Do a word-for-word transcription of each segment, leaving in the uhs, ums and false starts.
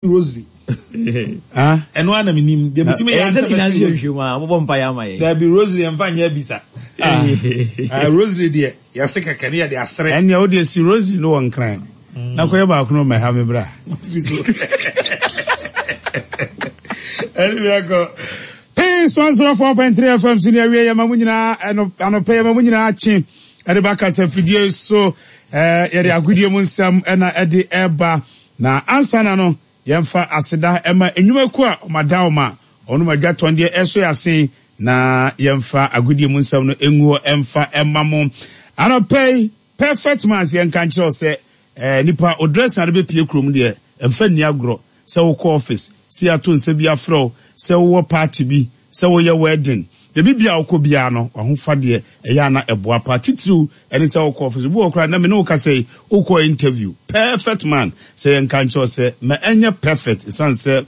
Rosary. Ɛno ara na menim deɛ metumi yɛ ansɛ mɛsi rosary. Mobɔ mpa yɛ ama yɛ. Dabi, rosary ɛmfa nyɛ bisa. Ah, rosary deɛ, yɛse kɛkɛ ne yɛde asere. Ɛnneɛ wo deɛ, si rosary no wɔ Nkran na kɔyɛ baako no mɛha me bra. Ɛne biakɔ. Peace one zero four point three F M so ne awie. Yɛma mu nyinaa anɔpɛ, yɛma mu nyinaa kye ɛde ba kasa fidie so. ɛɛ yɛde agodie mu nsɛm ɛna ɛde ɛba, na ansa na no, yɛmfa aseda ɛma nnwumakuo a ɔmada ɔma ɔnom adwa tɔn deɛ ɛso yɛ asen, na yɛmfa agodie mu nsɛm no ngu hɔ ɛmfa ɛma mo anɔpɛ yi. Perfect Man sɛ yɛnka nkyerɛw sɛ ɛɛ nipa o dress na de bɛpie kurom deɛ, ɛmfa nni agorɔ. Sɛ wokɔ office, sɛ yɛato nsa bi afrɛ wo, sɛ wowɔ party bi, sɛ woyɛ wedding, baabi bia wokɔ biara no, wahofa deɛ ɛyɛ ana ɛboa pa titiriw ɛne sɛ wokɔ office bi wɔ koraa na me ne wo kasa yi, wokɔ interview. Perfect Man sɛ yɛnka nkyerɛw sɛ ma ɛnyɛ perfect, ɛsiane sɛ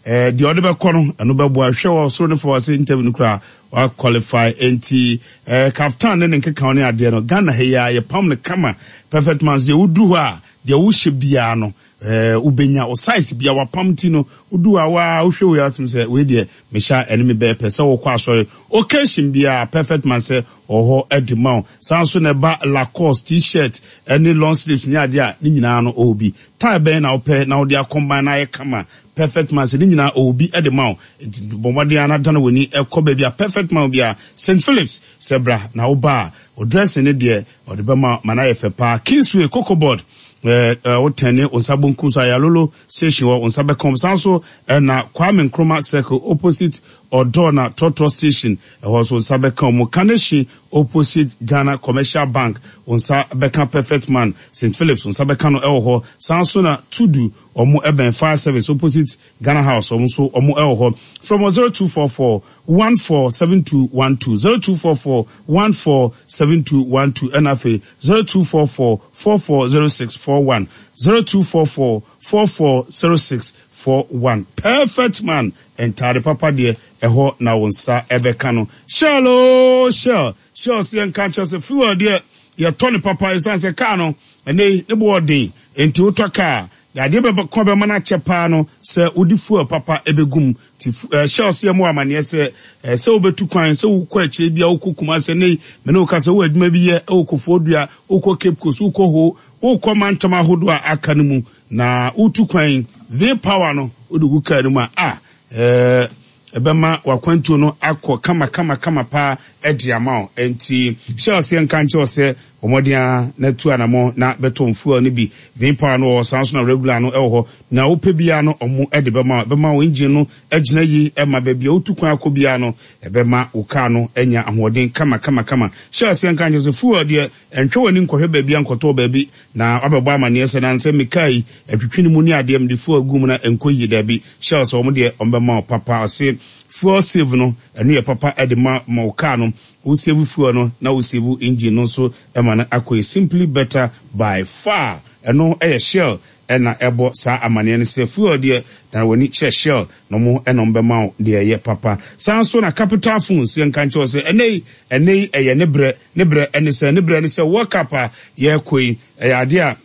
ɛɛ deɛ ɔde bɛkɔ no, ɛno bɛboa. Hwɛ wɔ soro ne fa wɔ sɛ interview no koraa wa qualify. Nti ɛɛ kaftan ne ne nkeka ne adeɛ no, Ghana ha yi a yɛpam no kama. Perfect Man so deɛ, wodu hɔ a, deɛ wohyɛ biara no, ɛɛ wobɛnya o size bia wapam. Ti no, wodu a waa wohwɛ wei atum sɛ wei deɛ mehyɛ a, ɛne me bɛyɛ pɛ. Sɛ wokɔ asɔre, occasion biara, Perfect Man sɛ ɔhɔ ɛde ma wo. San so na ɛba Lacoste T-shirt ɛne long sleeves ne adeɛ a, ne nyinaa no ɔwɔ bi. Tie bɛn na wopɛ na wode akɔmban na ayɛ kama? Perfect Man sɛ ne nyinaa ɔwɔ bi ɛde ma wo. Nti bɔ mmɔden a na dane w'ani ɛkɔ baabi a Perfect Man bi a Saint Philips sɛ bra na woba a, o dressing ne deɛ ɔde bɛma ma no ayɛ fɛ paa. Kingsway, Cocoa Board, ɛɛ wotɛne wo nsa bonkum so, Ayalolo station wɔ wo nsa bɛka. San so ɛna Kwame Nkrumah Circle, opposite ɔdɔ na trɔtrɔ station, ɛhɔ nso nsa bɛka mu. Kaneshie, opposite Ghana Commercial Bank, nsa bɛka Perfect Man. Saint Philips, nsa bɛka no ɛwɔ hɔ. San so na Tudu, ɔmo ɛbɛn Fire Service, opposite Ghana House, ɔmo nso ɔmo ɛwɔ hɔ. From zero two four four one four seven two one two, zero two four four one four seven two one two, ɛna afei zero two four four four four zero six four one, zero two four four four four zero six four one. Perfect Man ntaade papa deɛ, ɛhɔ na wo nsa ɛbɛka no. Shell o, Shell, Shell si yɛn ka kyerɛ sɛ fuel deɛ, yɛtɔ ne papa, ɛsiane sɛ kaa no ɛnɛ ne bo ɔden. Nti wotɔ kaa, adeɛ bɛkɔ bɛma no akyɛ paa no sɛ wode fuel papa ɛbɛgum. Nti Shell sɛ yɛmɔ amanneɛ sɛ sɛ wobɛtu kwan, sɛ wokɔ akyire bi a, wokɔ Kuma sɛ ne mene woka sɛ wowɔ adwuma bi yɛ ɛwɔ Kofoɔ Dua, wokɔ Cape Coast, wokɔ Ho, wokɔ mantam ahodoɔ a aka no mu na wotu kwan, V Power no wode gu kaa no mu a, a ɛɛ ɛbɛma wakwantuo no akɔ kama kama kama paa ɛde ama wo. Nti Shell sɛ nka nkyɛw sɛ wɔmɔden a na tu anamɔ na bɛtɔ fuel no bi. V Power no wɔ san so na regular no ɛwɔ hɔ, na wopɛ biara no, ɔmo ɛde bɛma bɛma wo engine no agyina yi, ɛma baabi a wotu kwan akɔ biara no, ɛbɛma wo kaa no anya ahoɔden kama kama kama. Shell sɛ nka nkyɛw sɛ fuel deɛ, ɛntwɛ w'ani nkɔhwɛ baabi a nkɔtɔ baabi na wabɛbɔ amanneɛ sɛ nansɛ mekaa yi atwitwi ne mu ne adeɛ mede fuel gu mu na ɛnkɔ yie. Daabi, Shell sɛ ɔmo deɛ, ɔmo wo papa. Ɔse fuel save no, ɛno yɛ papa ɛde ma ma wo kaa no. Wo save fuel no na wo save engine no nso, ɛma no akɔ yi simply better by far. Ɛno ɛyɛ Shell ɛna ɛbɔ saa amanneɛ no sɛ fuel deɛ, na w'ani kyerɛ Shell na ɔmo ɛna ɔmo bɛma wo deɛ ɛyɛ papa. Saa nso na Capital Phones yɛn nka nkyɛw sɛ ɛnɛ yi ɛnɛ yi ɛyɛ ne brɛ ne brɛ ɛne sɛ ne brɛ ne sɛ World Cup a yɛrekɔ yi, ɛyɛ adeɛ a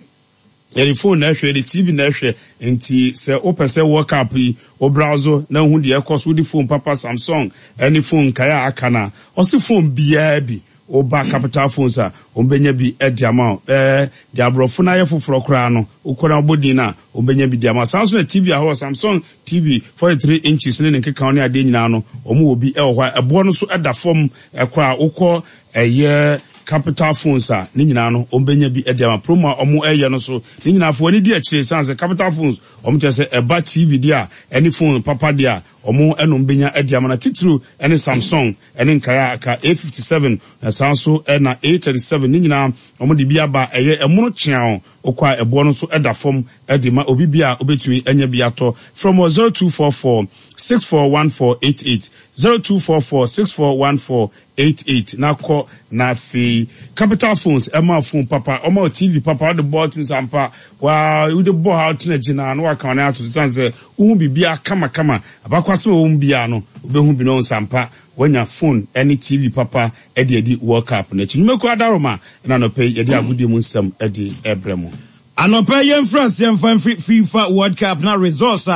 yɛde phone na ɛhwɛ, yɛde T V na ɛhwɛ. Nti sɛ wopɛ sɛ World Cup yi wo browse na wohu deɛ ɛkɔ so, wode phone papa, Samsung ɛne phone nkaeɛ a aka no a, ɔse phone biara bi, woba Capital Phones a, wɔbɛnya bi de ama wo. Ɛɛ deɛ aborɔfo no ayɛ foforɔ koraa no, wokɔ na wobɔ din no a, wɔbɛnya bi de ama wo. Saa nso na T V ahorow, Samsung T V forty-three inches ne ne nkeka ne adeɛ nyinaa no, wɔn wɔ bi wɔ hɔ a ɛboɔ no nso da fam koraa. Wokɔ ɛyɛ Capital Phones a, ne nyinaa no wɔn bɛnya bi de ama. Promo a wɔn ɛyɛ no so ne nyinaa fo ani di akyire, san sɛ Capital Phones wɔn kyerɛ sɛ ɛba T V deɛ a, ɛne phone papa deɛ a, wɔn ɛnom bɛnya de ama, na titiriw ɛne Samsung ɛne nkaeɛ a aka A fifty-seven na saa nso ɛna A thirty-seven, ne nyinaa wɔn de bi aba. Ɛyɛ ɛmono kyeaw, okɔ a ɛboɔ no nso ɛda fam ɛde ma obi bi a obetumi anya bi atɔ. From zero two four four six four one four eight eight, zero two four four six four one four eight eight, na kɔ na afei Capital Phones ɛma phone papa, ɔma T V papa, ɔde bɔ ɔtun sampa waa wode bɔ ha, ɔtena gyina na waka ɔne ato san sɛ wohu biribiara kamakama. Abakwasɛm a wɔn mu biara no, wobɛhu bi na ɔn sampa wanya phone ɛne T V papa ɛde adi World Cup n'akyi. Nnwumakuo adaroma ɛna nɔpɛ yi yɛde agodie mu nsɛm ɛde ɛbrɛ mu. Anɔpɛ yɛmfra aseɛ mfa mfiri FIFA World Cup na results a